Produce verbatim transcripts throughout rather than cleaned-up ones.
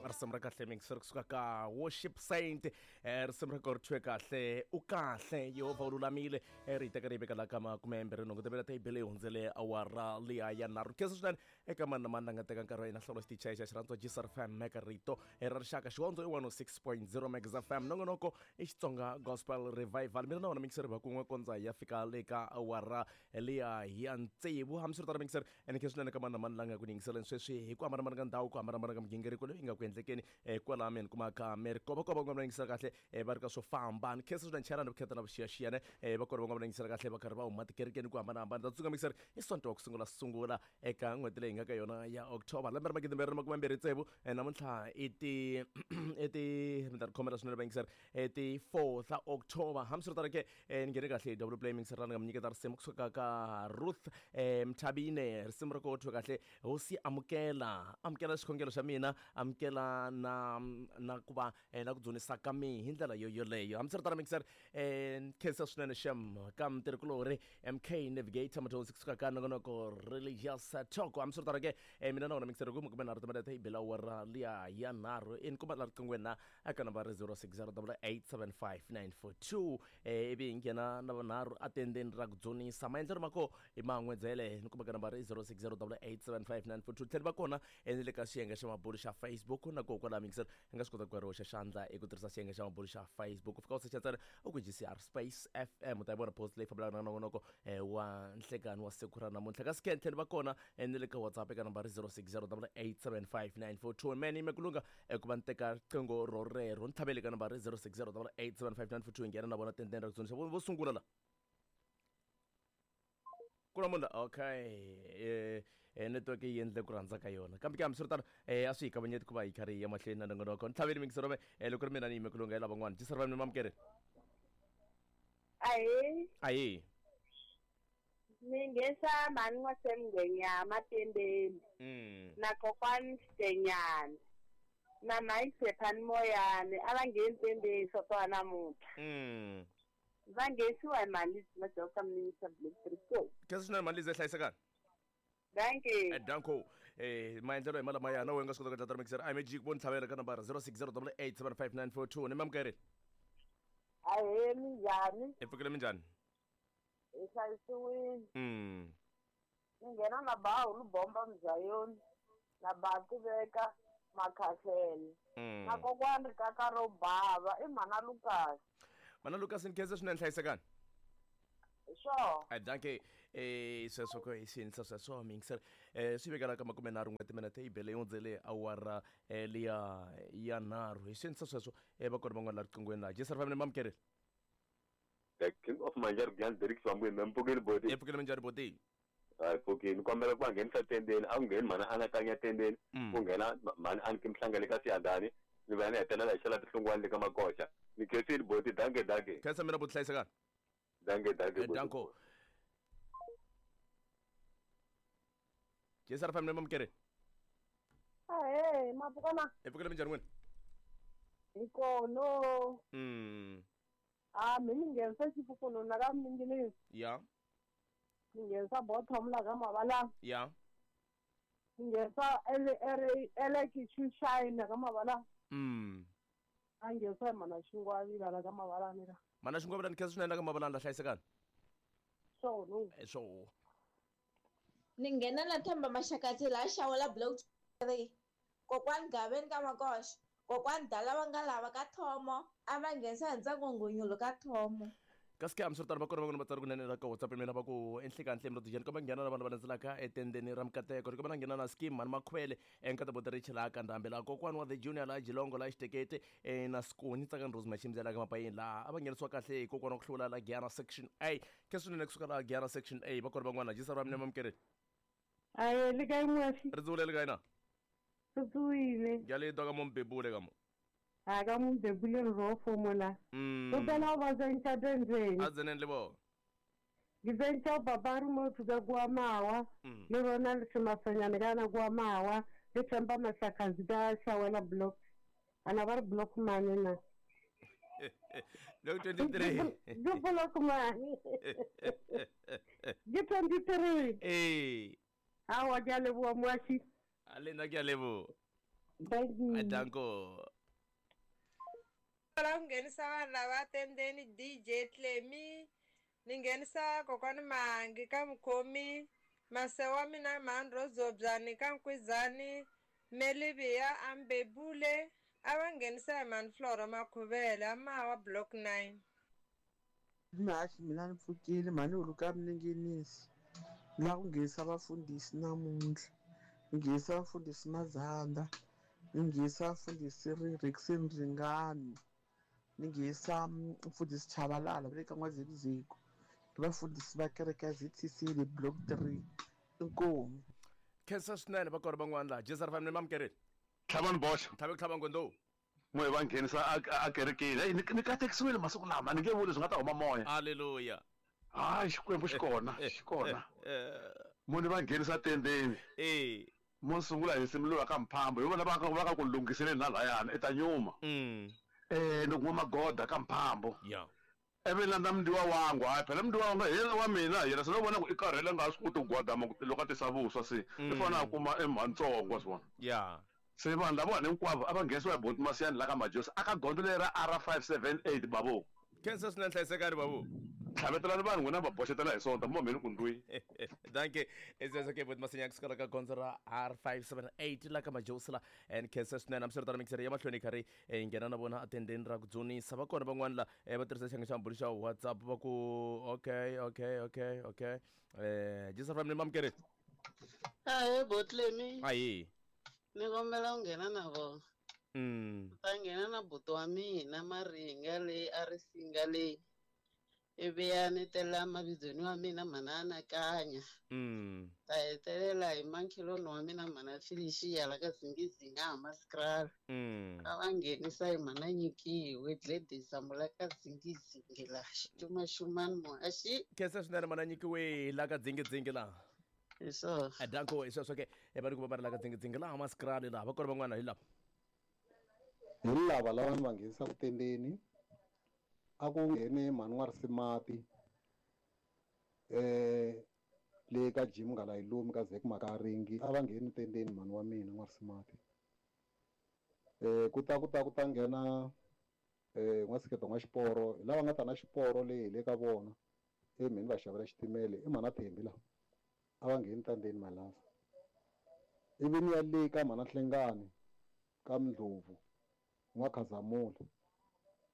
Risimu ra kahle mixer kusuka ka Worship Saint, eh, risimu ra ko ri thwe kahle u kahle Yehovha u lulamile, eh, ri teka ri veka la ka makume mbirhi nhungu tibele ta yi hundzele awara liya ya nharhu. Khensa swinene eka mani na mani la nga teka nkarhi wa yena hlawula xitichi xa xirhandzwa G S R F M eka rito ra rixaka xihondzo i one oh six point zero Megs F M nongonoko i Xitsonga Gospel Revival. Mina na wona mixer va kun'we kondza ya fika le ka awara liya ya tsevu. Hambiswiritano mixer ene khensa swinene ka mani na mani la nga ku yingiseleni sweswi hi ku hambanahambana ka ndhawu, ku hambanahambana ka migingiriko leyi nga ku endlekeni kwala mi ni kumaka mi ri kovakoba va nga yingisela kahle va ri ka swo famba. Ni khensa swinene chayelani vukheta na vuxiyaxiyane va kona va nga yingisela kahle va karhi va huma tikerekeni ku hambanahambana. Ta tsundzuka mixer i Sonto wa ku sungula sungula eka n'hweti leyi nga ka yona ya October lembe ra magidi mbirhi na makume mbirhi tsevu. Namuntlha i ti i ti mi ta ri khomela swinene va yingisela i ti four ta October. Hambiswiritano ke ni nghene kahle hi double play mixer ra ni nga mi nyiketa risimu kusuka ka Ruth Mthabine, risimu ra ko thwe kahle hosi amukela amukela xikhongelo xa mina, amukela na na ku va na ku dzunisa ka mi hi ndlela yo yoleyo. Hambiswiritano mixer khensa swinene xem ka mutirhikulorhi M K Navigator mathonsi kusuka ka nongonoko Religious Talk. Hambiswiritano ke mina na wona mixer ku makume nharhu timinete yi bela awara liya ya nharhu i ni kuma la riqingweni na eka nambara zero six zero double eight seven five nine four two ivi hi nghena na vanharhu atendeni ra ku dzunisa. Maendlelo ma ko i man'wedzele ni kuma ka nambara zero six zero double eight seven five nine four two. Tlhela va kona ni le ka xiyenge xa mabulu xa Facebook na ko kwala mixer i nga swi kota ku ri hoxa xandla eku tirhisa xiyenge xa mabulu xa Facebook. U fika u secha ntsena u ku G C R Space F M u ta yi vona post leyi fambelaka na nongonoko wa nhlekani wa siku ra namuntlha. Kasi ke tlhela va kona ni le ka WhatsApp eka nambara zero six zero double eight seven five nine four two. Mene yime ku lunga ku va ni teka riqingho ro rero ni tlhavele ka nambara zero six zero double eight seven five nine four two nghena na vona tendeni ra ku dzunisa vo sungula la kulamula. Okay, eh network yi endle ku rhandza ka yona kambe ke hambiswiritano eh a swi hi kavanyeti ku va hi karhi hi ya mahlweni na nongonoko. Ni tlhaveli mixer rome loko ri mina ni yime ku lunga hi lavan'wana. G S R F M mamukeri. Ahee. Ahee. Ni nghenisa mhani n'wasemngwenya matembeni na kokwani Xitenyana na mhani Sephani Moyani a va ngheni tembeni swa wa namuntlha. Mm. Va nghenisiwa hi mali majoka minister Black three four. Khensa swinene mali lize hlayisekani. Dankie. Eh danko. Eh maendlelo hi malama na wena nga swi kota ku dlata mixer I M G ku vona tlhavela ka nambara zero six zero double eight seven five nine four two. Ni mamukeri. Ahee minjhani? Hi pfukile minjhani? Hi hlayisiwile. Mm. Ni nghena na bahu Lubomba Mzayoni na Bati Veka Makhahlele. Mm. Na kokwani Rikaka ro bava i mhana Lucas. Mana Lucas ni khensa swinene hlayisekani. Sure. Eh dankie. Eh sweswo ko hi xinsa sweswo mixer eh swi vekela ka makume nharhu n'we timinete yi bele yi hundzele awara liya ya nharhu. Hi xinsa sweswo eh va kona van'wana la riqingweni la G S R F M mamukeri. The King of Manjar Grand Derek Swambu Mpukeli bodi. Mpukeli minjhani bodi? Hayi pfukini ni kombela ku va nghenisa tendeni, a ku ngheni mhani anakanya tendeni, ku nghena mhani Anki Mhlangele ka Siyandhani, ni va ni hetelela hi xela tihlungwani le ka Makoxa. Ni khensile boti, danke danke. Khensa mina boti hlayisekani. Danke danke boti. Danko. G S R F M mamukeri. Ahee, mapfukana. Mpukeli minjhani n'wina? Hi kona. Mm. Ah, mi ni nghenisa xifukununu na ka minginisi. Ya. Ni nghenisa bottom la ka mavala. Ya. Ni nghenisa ele ele ele kichushine ka mavala. Mm. A nghenisa mana xingwavila la ka mavala ni la. Mana xingwavila ni khensa swinene la ka mavala la hlayisekani. So no. Eh so. Ni nghena na Themba Maxakatsi la xawela block three. Kokwani Gaveni ka Makoxa. Kokwani Dala va nga lava ka Thomo a va nghenisa hi ntsako nghunyulo ka Thomo. Kasi ke hambiswiritano va kona van'wana vatswari kunene la ka WhatsApp mina va ku enhlekanhle mi rotijeni komba nghena na vanhu va landzelaka etendeni ra mikateko ri komba na nghena na scheme mani makhwele enkata boterichi laha ka ndhambi laha kokwani wa the junior laha Jilongo laha Xitekete na Skoni Tsakani Rose Machimzela ka Mapayeni laha a va nghenisiwa kahle hi kokwana wa ku hlula la Giyana section A. Ke swinene kusuka laha Giyana section A va kona van'wana G S R M mamukeri. Aye le kae moafi? Ri dzule le kae na? Ri tsohile. Ke a le twa ka mo mbebule ka mo. A ka mo mbebule re ro fomola. Mm. O phela o ba tsentsa tendeni. A tseneng le bona. Ke tsentsa papa re mo thuka kwa mawa. Le rona le semafanyane kana kwa mawa. Le Themba Masakazi ka Shawela block. Ana ba re block mane na. Block twenty-three. Ke block mane. Ke twenty-three. Eh. Awa ke a leboha moashi. A le nna ke a leboha. Bye. Danko. La nghenisa vanhu lava tendeni D J Clemi ni nghenisa kokwani Mangi ka Mukhomi mase wa mina Mhandro Zobyani ka Nkwizani Meliviya Ambebule a va nghenisa hi Mhani Flora Makhuvele amawa block nine. Mhaxi mina ni pfukile mhani huluka minengenisi la ku nghenisa vafundhisi namuntlha ni nghenisa vafundhisi Mazanda ni nghenisa vafundhisi Rickson Ringani ni nghenisa mfundhisi Chabalala va le ka N'wazekuzeko ni vafundhisi va kereke ya Z C C le block three inkomu. Khensa swinene va kona van'wana laha J S R F M ni mamukerile Tlhavani boxa tlhave ku tlhava ngondou n'we va nghenisa a kerekeni hey ni katekisiwile masiku lama ni nge vuli swi nga ta huma moya haleluya hayi Xikwembu xi kona xi kona munhu va nghenisa tendeni eh mo sungula hi nsimu lowa ka Mphambo hi vona va ka va ka ku lunghiseleni na layani eta nyuma eh ni kuma magoda ka Mphambo yeah ivi landza mndiwa wangu hayi phela mndiwa wangu hi yena wa mina yena se no vona ku i karhele nga swi koti ku gwadama loko a tisa vuswa se i fanele a kuma emhantsongo wa swi vona yeah se vanhu lavawani hinkwavo a va nghenisiwa hi Boti Masiyani la ka Majosi aka gondzo leri ra R five seven eight bavo khensa swinene hlayisekani babu tlhavetelani vanhu n'wina va boxetela hi sonta mo mheni ku ndwi danke ezeza ke Boti Masinyani kusukela ka gondzo ra R five seven eight la ka Majosi la and khensa swinene hambiswiritano mixere ya mahlweni yi karhi yi nghena na vona atendeni ra ku dzunisa va kona van'wana la va tirhisa xiyenge xa mbulu xa WhatsApp va ku okay okay okay okay eh J S R F M ni mamukerile ahe Botlemi ayi ni kombela ku nghena na vona mm ta nghena na buti wa mina Maringa leyi a ri singa leyi ivi ya ni tela mavizweni wa mina mhana Anakanya mm ta hetelela hi mankheloni wa mina mhana Felicia la ka Zingizinga Hammanskraal mm a va nghenisa hi mhana Nyikiwe Gladys Amula ka Zingizingi la Xixumaxumani muhaxi khensa swinene mhana Nyikiwe la ka Zingizingi la hi swona danko hi sweswo ke va ri ku va va ri la ka Zingizingi la Hammanskraal laha va kona van'wana hi lava hi lava lava ni va nghenisaka tendeni a ku nghene mhani wa Risimati eh le ka Jim nga la yi lumi ka Zek Makaringi a va ngheni tendeni mhani wa mina n'wa Risimati eh ku ta ku ta ku ta nghena eh n'wa Siketo n'wa Xiporo hi lava nga ta na xiporo leyi hi le ka vona e mheni va xavela xitimele i mhana Thembi la a va ngheni tandeni malava ivi ni ya le ka mhana Hlengani ka Ndlovu n'wa Khazamula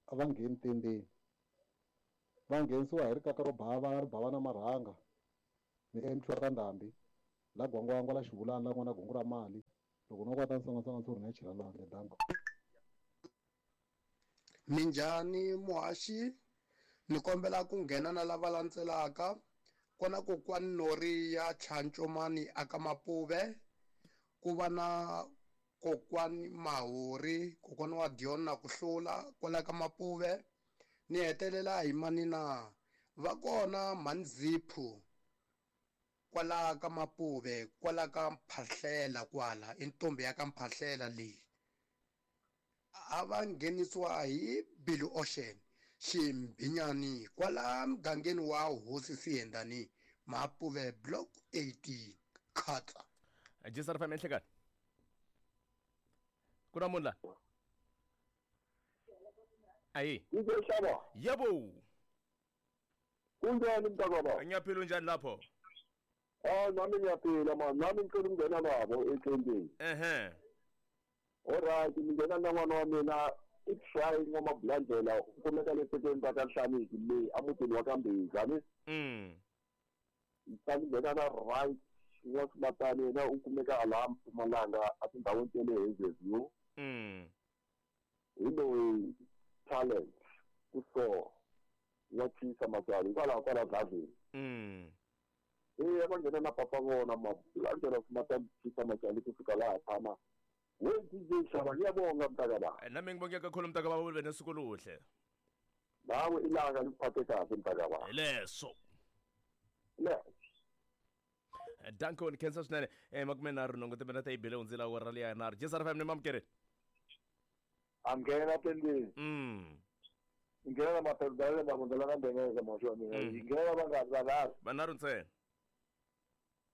a va ngheni tendeni va nghenisiwa hi rikaka ro bava ri bava na marhanga ni emthwa ka Ndhambi la Gwangwangwa la Xivulani la n'wana gungu ra mali loko no kwata nsongansonga ntshuri na chela lwandle danko Minjhani muhaxi ni kombela ku nghena na lava landzelaka kona kokwani Nori ya Chancomani aka Mapuve ku va na kokwani Mahori kokwani wa Dion na ku hlula kwala ka Mapuve ni hetelela hi manina va kona Manziphu kwala ka Mapuve kwala ka Mphahlela kwala i ntombi ya ka Mphahlela leyi a va nghenisiwa hi Billy Ocean Ximbhinyani kwala mugangeni wa Hosi Siyendani Mapuve block eighteen Khatsa J S R F M enhlekani ku na munhu la ayi Ngiyashaba yebo kunjani mntakababa ngiyaphila unjani lapho ah nami ngiyaphila man nami ngicela ukungena nabo etendeni ehe alright ngingena na n'wana wa mina i try n'wamablandlela u kumeka le tekweni ra ka Nhlaniki le emutini wa ka Mbhiza ni mm ta nghena na right n'wa Simatani yena u kumeka laha Mpumalanga etindhawini ta le Hazyview mm hi loyi talent ku so wa Chisa Matswali hikwalaho kwala Dladleni mm e va nghena na papa vona Mablandlela Simatani Chisa Matswali ku fika laha tshama we D J Xava ngiyabonga mntakababa nami ngibonge kakhulu mntakababa ube nosuku oluhle nawe ilanga likuphathe kahle mntakababa leso le danko ni khensa swinene eh makume nharhu nhungu timina ta yi bile hundzile awara liya nharhu J S R F M ni mamukerile a nghena tendeni mm nghena na maperdale mavondela na ndengeza muhaxi wa mina yi nghena vangani vanharhu vanharhu ntsena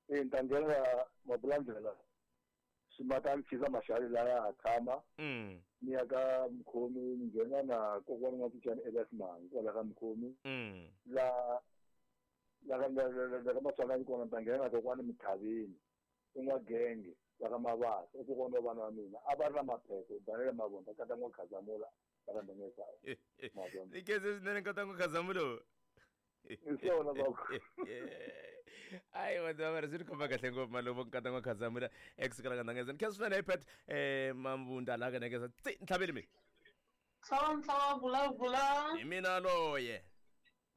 e ni ta nghena Mabulandlela Swimatani Khiza Maxali laya a tshama mm ni ya ka Mkhomi ni nghena na kokwana N'wapichani Elias Mangi kwala ka Mkhomi mm la la ka la ka Maswanganyi kona ni ta nghena na kokwana Mthavini i N'wagenge la ka Mabasa i kokwana wa vana va mina a va ri na mapheko Daniel Mavonda kata N'wakhazamula la ka Ndengezana ni khense swinene nkata N'wakhazamula hi swona baba ayi vanhu va ri swi ni khoma kahle ngopfu maluvo nkata N'wakhazamula ekusukela ka Ndangeza ni khensa swinene ipet um Mabunda laha ka Ndengeza tsi ntlhaveli mi Hlava nhlava bula bula hi mina loye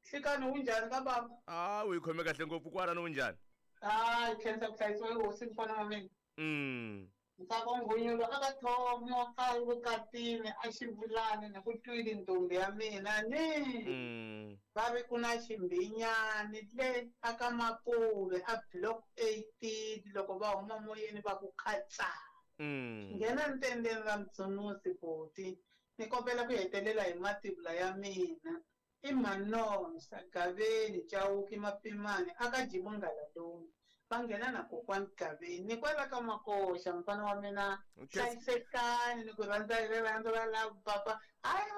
Nhlikani unjhani ka baba a wu yi khome kahle ngopfu kwalano unjhani hayi khensa ku hlayisiwa hi hosi mfana wa mina mm Ntsako Nghunyulo a ka thomo ka vukatini a xivulani ni ku twile ntombi ya mina ni mm va vi ku na ximbinyani le a ka Mapuve a block eighteen loko va huma moyeni va ku khatsa mm nghena ntendeni ra Mtsunusi boti ni kombela ku hetelela hi mativula ya mina i Manonsa Gaveni Chauke Mapimani a ka Jimungala lomu va nghena na kokwani Gaveni ni kwala ka Makoxa mfana wa mina hlayisekani ni ku rhandza hi rirhandzu ra love papa hayi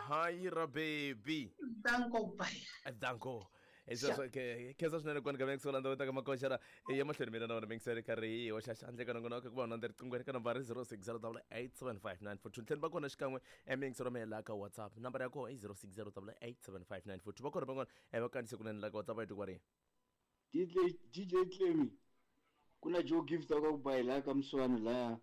hayi ra baby danko bye danko sweswo khensa swinene kwani ka mingisela ndhawu ta ka Makoxa ra ya mahlweni mina na wena mingisela karhi hi hoxa xandla ka nongonoko ku va u riqingweni ka nambara zero six zero double eight seven five nine four two ntlheni va kona xikan'we emingiselo mela ka WhatsApp nambara ya kona i zero six zero double eight seven five nine four two va kona van'wana va kandziyise kunene la ka WhatsApp a yi twi D J D J Clemmy ku na Joe Gift ka ku ba hi laha ka Mswani laya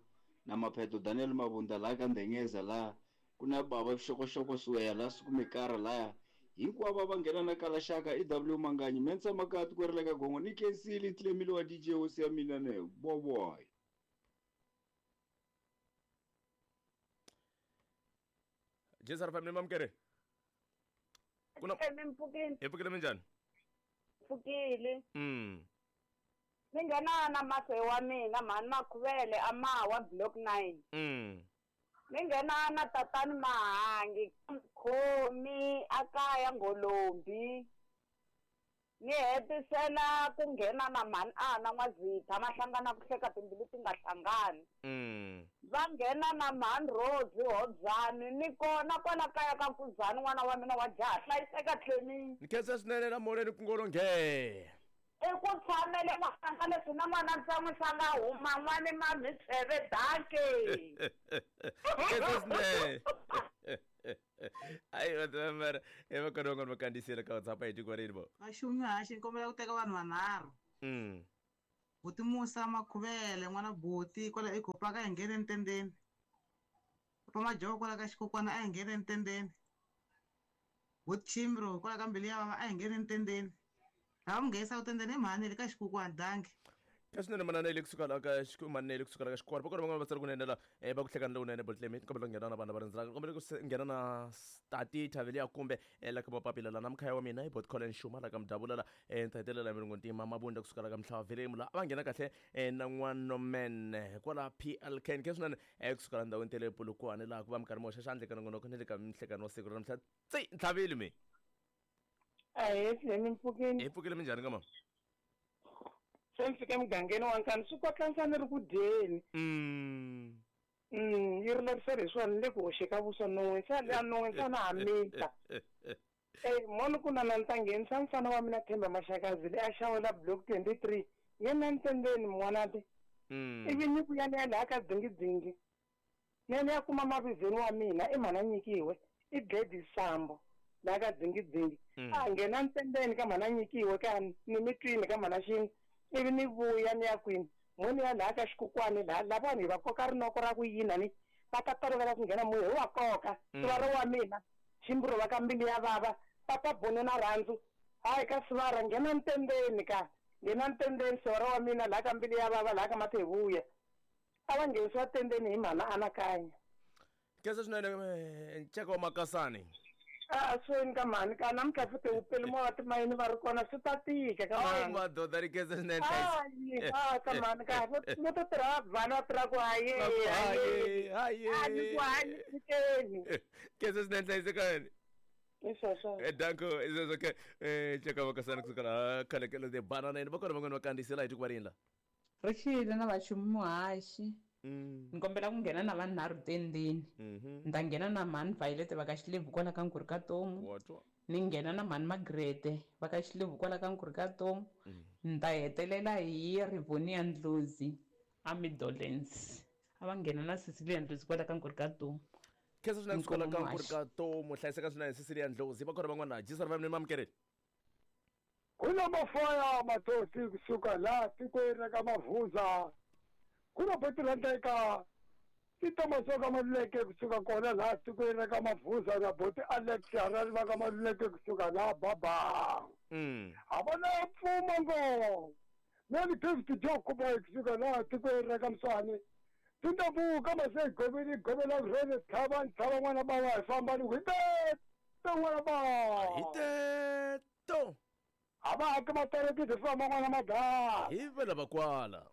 na Mapheto Daniel Mabunda laha ka Ndengeza laha ku na baba Xokoxoko Suweya laha Sukumekara laya hinkwavo va nghena na Kalaxaka E W Manganyi Mensa Makati ku ri le ka Gongo ni khensile Clemmy wa D J hosi ya mina ne boboy Jesar family mamkere kuna Mpfukile hi pfukile minjhani pfukile mm ni nghena na mase wa mina mhani Makhuvele amawa block nine mm ni nghena na tatani Mahangi Mkhomi akaya Ngolombi ni hetisela ku nghena na mhani ana N'wazitha mahlangana ku hleka timbilu ti nga hlangani mm va nghena na mhani Rose Hodzani ni kona kwala kaya ka Nkuzani n'wana wa mina wa jaha hlayiseka tlheni ni khensa swinene na molweni ku ngolo nge i ku tshamele n'wana leswi na n'wana ntsan'wisa nga huma n'wani mamhitsheve danke khensa swinene ayi vatamara i va kona van'wana va kandziyisile ka WhatsApp hi tiko rini vo Vaxumi haxi ni kombela ku teka vanhu vanharhu mm Buti Musa Makhuvele n'wana buti kwala eKopaka a hi nghene ntendeni Papa Majoko kwala ka Xikokwana a hi nghene ntendeni Buti Chimbro kwala ka Mbilu ya Vava a hi nghene ntendeni lava mi nghenisa tendeni i mhani le ka Xikokwana danke ka swinene manana le kusuka la ka manene le kusuka la ka xikwari va kona van'wana va tsala kunene la va ku hlekana lowunene Botlemi kombela ku nghena na vanhu va rindzelaka kombela ku nghena na Stati Thavelia kumbe la ka Mapapila la na mkhaya wa mina i Bot Colin Shuma la ka Mdavula la ni ta hetelela miringo ntima Mabunda kusuka la ka Mhlava Velemu la va nghena kahle na N'wanomen kwala P L K ke swinene kusuka la ndhawini ta le Polokwane laha ku va minkarhi mo hoxa xandla ka nongonoko ni le ka minhlekano wa siku ra namuntlha tsi ntlhaveli mi Ahee Tlemi mpfukeni hi pfukile minjhani ka mama se ni fike emugangeni wa Nkani swi kotlanisa ni ri ku dyeni mm mm yi rilerisela hi swona ni le ku hoxeka vuswa non'weni se a non'weni se na ha mita e moni ku na na ni ta nghenisa mfana wa mina Themba Maxakazi leyi a xawela block twenty three yena ntendeni n'wanati ivi ni ku ya ni ya laha ka dzingidzingi ni ya ni ya kuma mavizweni wa mina i mhana nyikiwe i Gladys Sambo laha ka dzingidzingi a nghena ntendeni ka mhana nyikiwe ka ni mi twini ka mhana xin'we ivi ni vuya ni ya kwini moni ya laha ka Xikukwani laha lavani hi va koka rinoko ra ku yina ni va ta tolovela ku nghena moya hi wa koka sivara wa mina Ximburo va ka Mbilu ya Vava papa Bono na Rhandzu hayi ka sivara nghena ntendeni ka nghena ntendeni sivara wa mina laha ka Mbilu ya Vava laha ka Mathevuya a va nghenisiwa tendeni hi mhana Anakanya khensa swinene nceka wa Makasani a sweni ka mhani ka namuntlha futhi wu peli moya timayini va ri kona swi ta tika ka mhani madoda ri khensa swinene hayi a ka mhani ka vo to tirha vana va tirha ku haye haye haye a ni ku hayi fikeni khensa swinene hlayisekani i sweswo danko i sweswo ke nceka wa Makasani kusuka laha khalekelo de banana va kona van'wana va kandziyisela hi tiko va rini la Ri xile na vaxumi muhaxi Ni kombela ku nghena na vanharhu tendeni. Ni ta nghena na mhani Violet va ka Xilebvu kwala ka Nkuri ka Tomu. Ni nghena na mhani Magrete va ka Xilebvu kwala ka Nkuri ka Tomu. Ni ta hetelela hi Rivonia Ndlozi a Midolens. A va nghena na Cecilia Ndlozi kwala ka Nkuri ka Tomu. Khensa swinene kusuka la ka Nkuri ka Tomu. Hlayiseka swinene Cecilia Ndlozi. Va kona van'wana G seven ni mamukeri. Kuna mafaya matosi kusuka la tikweni ra ka Mavuza. Kuna boti rhandeka titomasoka Maluleke kusuka kona laha tikweni ra ka Mavuza na boti Alex Harari va ka Maluleke kusuka laha Baba. A va na pfuma ngo. Mani Gift Joe Kuboy kusuka laha tikweni ra ka Mswani. Tindabuka mase goveli govela rele thaba thaba n'wana baba hi famba ni hite n'wana baba. Hite to. A va haki matareki hi famba n'wana madala. Hi vela vakwala.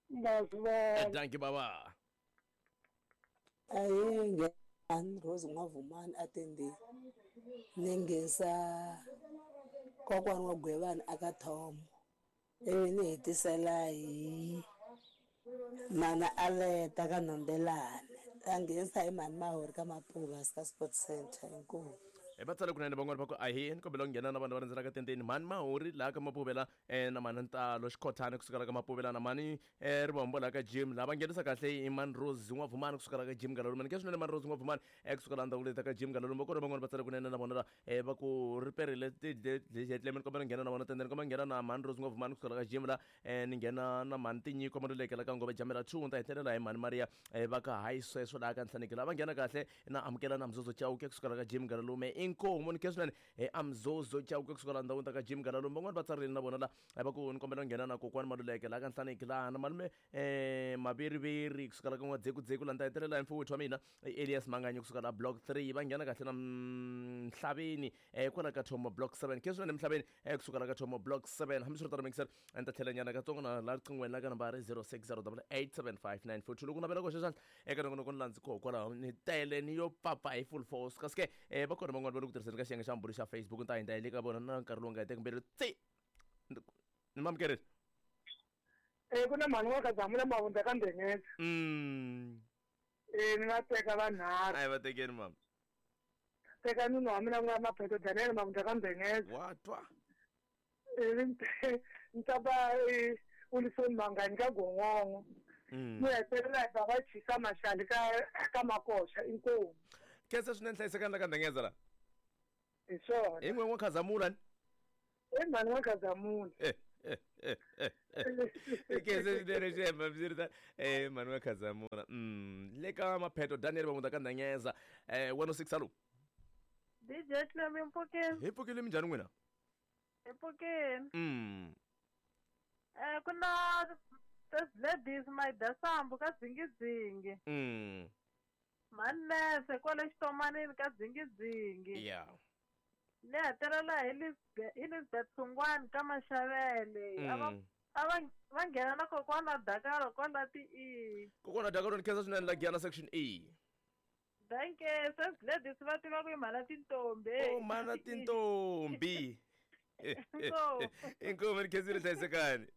Maswa. Dankie baba. Ayi ngani Rose Ngwavumani atende ningisa kokwana wa Gwevani aka Tom ivi ni hetisela hi mana Aleta ka Nambelani a nghenisa hi mhani Mahori ka Mapuva ka Sports Center inkomu. E va tsale kunene van'wana va ku ahi ni kombela ku nghena na vanhu va rhendzelaka tendeni mhani Mahori laha ka Mapuvela na mhani Ntalo Xikhothana kusuka la ka Mapuvela na mhani Rivombo laha ka Jim laha va nghenisa kahle i mhani Rose N'wavumani kusuka la ka Jim Galaluma ni ke swinene mhani Rose N'wavumani kusuka la ndhawu leti ka Jim Galaluma va kona van'wana va tsale kunene na vona la va ku riperile tidlemi ni kombela ku nghena na vona tendeni kombela nghena na mhani Rose N'wavumani kusuka la ka Jim la ni nghena na mhani Tinyiko Maluleke la ka Ngove Jamela two ni ta hetelela hi mhani Maria va ka hayi sweswo laha ka Nhlaneki laha va nghena kahle na amukela na Mzozo Chauke kusuka la ka Jim Galalume inkomu ni ke swinene amzozo Chauke kusuka la ndhawini ta ka Jim Galalume van'wana va tsarile na vona la va ku ni kombela ku nghena na kokwani Maluleke laha ka Nhlaneki laha na malume Maveriveri kusuka la ka N'wadzekudzeku laha ni ta hetelela hi mfowethu wa mina Elias Manganyi kusuka la block three va nghena kahle na Mhlaveni kwala ka Thomo block seven ke swinene Mhlaveni kusuka la ka Thomo block seven hambiswiritano mixer a ni ta tlhela nyana katsongo na la riqingweni la ka nambara zero six zero eight seven five nine four two loko navela ku hoxa xandla eka nongonoko ni landzi koho kwalaho ni tele ni yo papa hi full force kasi ke va kona van'wana va le ku tirhiseni ka xiyenge xa mbulu xa Facebook ni ta hindza hi le ka vona na nkarhi lowu nga heteki mbilu tsi ni mamukerile Eh ku na mhani wa ka Zamula Mavundza ka Ndengeza. Mm. Eh ni nga teka vanharhu. A hi va tekeni mama. Teka nuna wa mina ku nga Mapheto Daniel Mavundza ka Ndengeza. Wa twa. Eh ni ta ba Wilson Mangani ka Gongongo. Ni hetelela hi baba Chisa Mashali ka ka Makoxa inkomu. Khensa swinene hlayisekani la ka Ndengeza la. Hi swona. Hi n'we n'wa Khazamula ni. I mhani wa Khazamula. Khensa swinene xemba swi eh mhani wa Khazamula. Mm le ka Mapheto Daniel Mavundza ka Ndengeza eh one oh six hello. D J Clemi mpfukeni. Hi pfukile minjhani n'wina? Hi pfukeni. Mm. Eh ku na Ladies Mayidasambu ka Dzingidzingi. Mm. Manese kwale xitomanini ka Dzingidzingi. Yeah. Ni hetelela hi Elizabeth Sungwani ka Maxavele. A va a va va nghena na kokwana Dakaro kwala ti E. Kokwana Dakaro ni khensa swinene la Giyana section E. Danke, se ladies va tiva ku i mhana tintombi. Oh mhana tintombi. Inkomu ni khensile hlayisekani.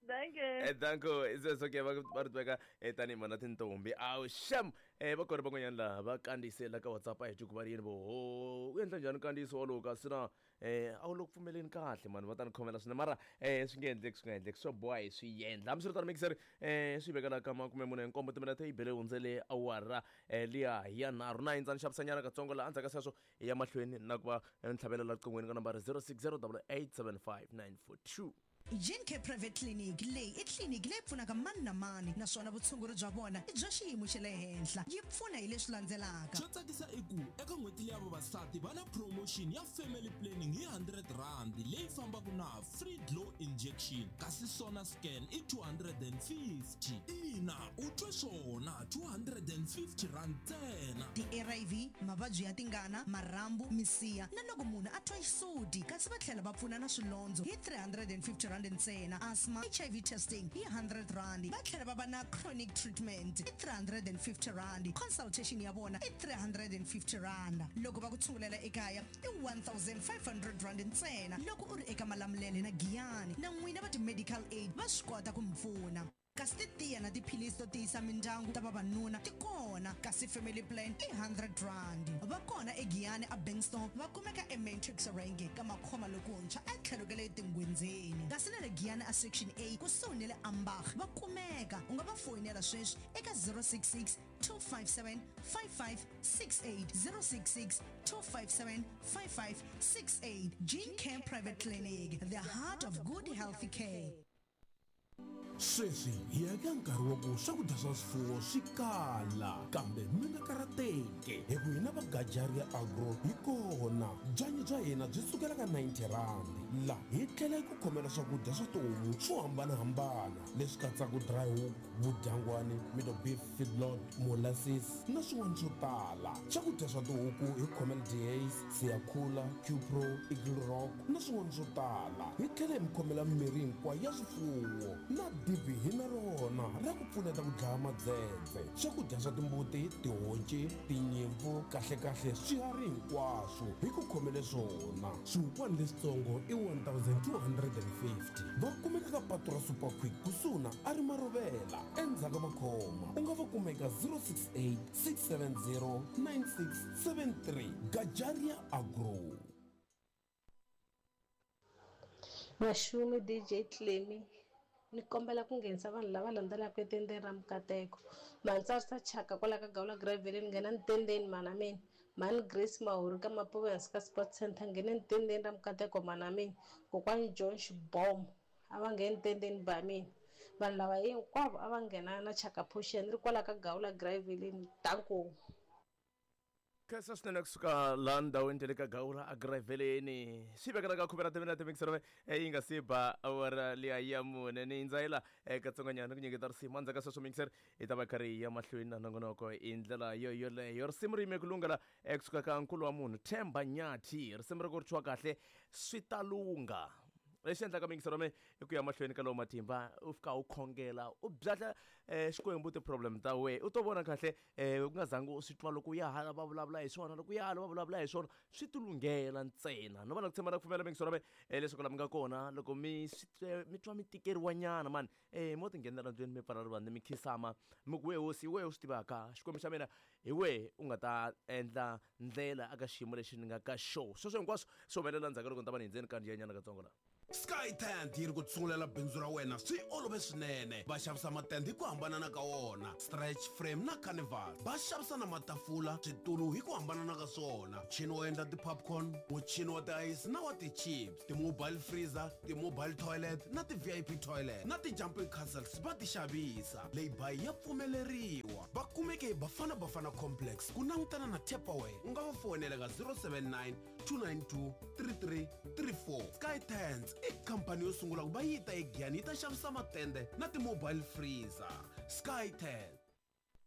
Danke. Eh danko sweswo ke va va ri tiveka tanihi mhana tintombi. Awu xem eh va kona van'wanyana laha va kandziyisela ka WhatsApp a hi twi ku va ri yini vo ho u endla njhani nkandziyiso wolowo kasi na eh a wu le ku pfumeleni kahle mani va ta ni khomela swinene mara eh swi nge endleki swi nga endleki swo boha hi swi endla hambiswiritano mixer eh swi vekela ka makume mune nkombo timinete yi bele hundzele awara eh liya ya nharhu na yindza ni xavisanyana katsongo laha endzhaku ka sweswo hi ya mahlweni na ku va ni tlhavela la riqingweni ka nambara zero six zero eight seven five nine four two. Gene Care Private Clinic leyi i tliliniki leyi pfunaka mani na mani naswona vutshunguri bya vona i bya xiyimo xa le henhla yi pfuna hi leswi landzelaka. Xo tsakisa i ku eka n'hweti leya vavasati va na promotion ya family planning hi hundred rand leyi fambaka na free glow injection kasi sona scan i two hundred and fifty. Ina u twe swona two hundred and fifty rand ntsena. Ti-R I V, mavabyi ya tingana, marhambu, misiha na loko munhu a twa xisudi kasi va tlhela va pfuna na swilondzo hi three hundred and fifty rand ntsena. Asthma, H I V testing hi hundred rand. Va tlhela va va na chronic treatment hi three hundred and fifty rand. Consultation ya vona i three hundred and fifty rand. Loko va ku tshungulela ekaya i one thousand five hundred rand ntsena. Loko u ri eka Malamulele na Giyani na n'wina va ti-medical aid va swi kota ku mi pfuna. Kasi titiya na tiphilisi to tiyisa mindyangu ta vavanuna ti kona, kasi family plan i hundred rand. Va kona eGiyani a Bankston, va kumeka eMatrix Range ka Makhoma lokuntshwa etlhelo ka le Tingwenzeni. Kasi na le Giyani a Section A kusuhi na le Ambach va kumeka. U nga va foyinela sweswi eka zero six six two five seven five five six eight, zero six six two five seven five five six eight. Gene Care Private Clinic, the heart of good healthy care. Sweswi hi ya eka nkarhi wa ku swakudya swa swifuwo swi kala, kambe mi nga karhateki hi ku hina va Gajaria Agro hi kona. Byanyi bya hina byi sukela ka ninety rand, la hi tlhela hi ku khomela swakudya swa tihomu swo hambanahambana leswi katsaka dry hook, vudyangwani, middle beef feedlot, molasses na swin'wana swo tala. Swakudya swa tihuku hi khomela Dehaze, Siyakhula, Qpro, Eagle Rock na swin'wana swo tala. Hi tlhela hi mi khomela mirhi hinkwayo ya swifuwo na dibi hi na rona ra ku pfuneta ku dlaya madzedze. Swakudya swa timbuti, tihonci, tinyimpfu, kahlekahle swiharhi hinkwaswo hi ku khomele swona. Swihukwana leswitsongo i one thousand two hundred and fifty. Va kumeka ka patu ra Super Quick kusuhi na a ri Marovela endzhaku ka Makhoma. U nga va kuma eka zero six eight six seven zero nine six seven three. Gajaria Agro. Maxumi D J Clemmy, ni kombela ku nghenisa vanhu lava landzelaka etendeni ra Mukateko. Mantsarisa Chaka kwala ka Gawula Gravel, ni nghena ntendeni mana mina. Mhani Grace Mahuri ka Mapuve hansi ka Sports Center, nghena ntendeni ra Mukateko mana mina. Kokwani John Xibomo a va ngheni ntendeni ba mina. Vanhu lava hinkwavo a va nghena na Chaka Portion ri kwala ka Gawula Gravel. Danko. Khensa swinene kusuka laha ndhawini ta le ka Gawula aGraveleni. Swi vekela ka khume ra timinete mixero yi nga si ba awara liya ya mune. Ni ndzayela katsongonyana ku nyiketa risimu. Endzhaku ka sweswo mixer hi ta va karhi hi ya mahlweni na nongonoko hi ndlela yo yoleyo. Risimu ri yime ku lungela kusuka ka nkulu wa munhu Themba Nyathi. Risimu ri ku ri thyiwa kahle swi ta lungha. Lexi endlaka mixero me i ku ya mahlweni ka lowu matimba, u fika u khongela u byatla Xikwembu ti-problem ta wena, u to vona kahle u nga zangi u swi twa loko u ya hala va vulavula hi swona, loko u ya hala va vulavula hi swona, swi ti lunghela ntsena. No va na ku tshemba na ku pfumela mixero me leswaku la mi nga kona loko mi mi twa mi tikeriwa nyana mani mo ti nghenela ndlwini mi pfala rivanti mi khisama mi ku we hosi, hi wehe u swi tivaka Xikwembu xa mina, hi wehe u nga ta endla ndlela aka xiyimo lexi ni nga ka xo. Sweswo hinkwaswo swi humelela ndzhaku loko ni ta va ni hindzeni ka nyana katsongo la. Sky Tent yi ri ku tsungulela bindzu ra wena swi olove swinene. Va xavisa matende hi ku hambanana ka wona, stretch frame na carnival. Va xavisa na matafula, switulu hi ku hambanana ka swona, muchini wo endla ti-popcorn, muchini wa ti-ice na wa ti-chips, ti-mobile freezer, ti-mobile toilet na ti-V I P toilet na ti-jumping castles va ti xavisa. Leyi ya pfumeleriwa. Va kumeke hi Bafana Bafana Complex ku langutana na Tupperware. U nga va foyinela ka zero seven nine two nine two three three three four. Sky Tent i khampani yo sungula ku va yi ta eGiyani yi ta xavisa matende na ti-mobile freezer. Sky Tent.